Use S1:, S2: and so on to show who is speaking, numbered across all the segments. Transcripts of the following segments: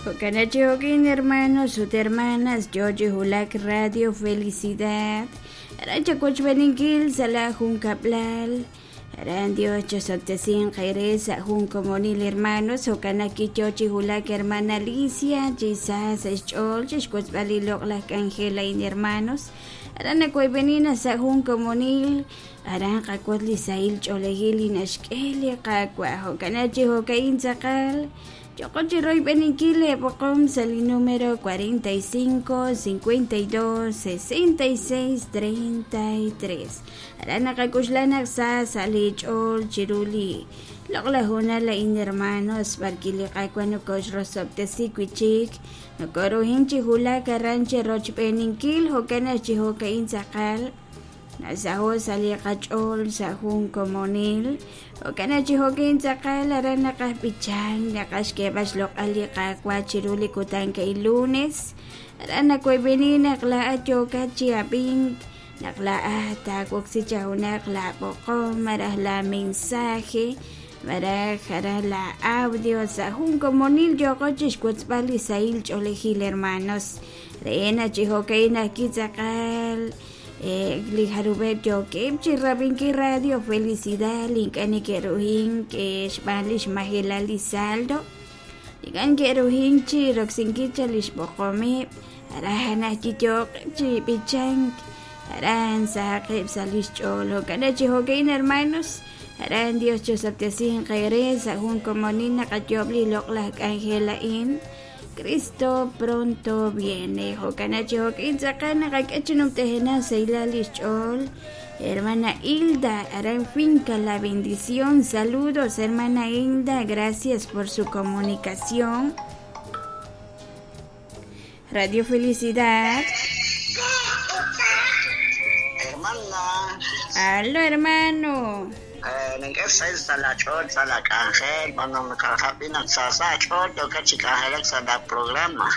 S1: Jo'kan chi jo'kin hermanos ut hermanas yo chi wulak Radio Felicidad aran chawochb'eeninkil sa' la junkab'lal aran Dios chosob'tesinq eere sa' jun komonil hermanos jo'kan naq kiyo chi wulak hermana Alicia chi sa sa' xch'ool chixwotzb'al li loq'laj k'anjel a'in hermanos aran nawoyb'eni naq sa' jun komonil aran qawotz li sahil ch'oolejil li naxk'e li Qaawa' jo'kan chi jo'ka'in tz'aqal Yo'qo chi royb'eninkil leeb'oqom sa' li número 45 52 66 33. Aran naqak'oxla naq sa sa' li ch'ool chiru li loq'laj hoonal a'in hermanos b'arwi' li Qaawa' nokoxrosob'tesi wi' chik nokoruhin chi wulak aran cherochb'eeninkil jo'kan naq chi jo'ka'in tz'aqal Nasaho' sa' li qach'ool sa' jun komonil. Jo'kan naq chi jo'kin tz'aqal aran naqajb'ichank, naqaj xk'eeb'al xloq'al li Qaawa' chiru li kutan a'in lunes. Aran nawoyb'eni naq laa'at yookat chi ab'ink, naq laa'at taawoksi chaq junaq laab'oqom malaj laamensaje malaj aran laa'audio sa' jun komonil yooqo chixwotzb'al li sahil ch'oolejil hermanos. Re naq chi jo'ka'in ajwi' tz'aqal li jarub'eb' yookeb' chi rab'inkil Radio Felicidad li ink'a' neke'ruhink xb'aan li xmajelal li saldo ink'a' neke'ruhink chi roksinkil chaq li xb'oqomeb' aran naq yooqeb' chi b'ichank aran sahaqeb' sa' li xch'ool jo'kan chi jo'ka'in hermanos aran Dios chosob'tesinq eere sa' jun komonil naqayoob' li loq'laj k'anjel a'in Cristo pronto viene. Jo'kan chi jo'kin tz'aqal naqak'e chi numtajenaq sahilal li xch'ool. Hermana Hilda, aran Finca La Bendición. Saludos, hermana Hilda. Gracias por su comunicación. Radio Felicidad.
S2: Hermana.
S1: Aló, hermano.
S2: Nink'e xsahil sa' laach'ool sa' laak'anjel, b'an naq naq sa sa' aach'ool yookat chi k'anjelak sa' la programa.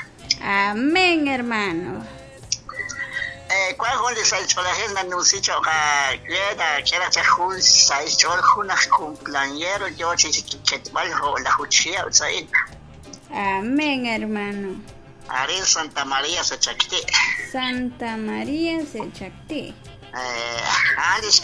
S1: Amén, hermano.
S2: Wan jun li sahil ch'oolejil nanumsi cho'q aawe taak'e raj chaq jun sahil xch'ool jun aj cumpleañero yoo chi xketb'al 10 chihab' sa'in.
S1: Amén, hermano.
S2: Arin Santa María Sechacti.
S1: Santa María Sechacti.
S2: A'an lix